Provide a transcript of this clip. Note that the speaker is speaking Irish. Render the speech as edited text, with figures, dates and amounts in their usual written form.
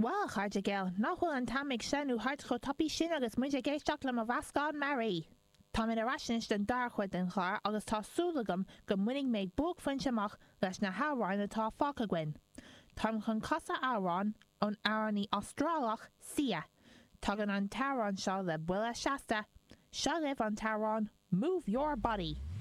Bhuel, a chairde geal, nach bhfuil an t-am ag sleamhnú thart chomh tapaidh sin agus muid ag éisteacht le mo mheascán mearaí! Táimid ar ais anois don dara cuid den chlár agus tá súil agam go mbainfidh mé buaicphointe amach leis na hamhráin atá fágtha againn. Táim chun casadh amhrán ón amhránaí Astrálach Sia. Tagann an t-amhrán seo le buille seasta. Seo libh an t-amhrán 'Move Your Body'!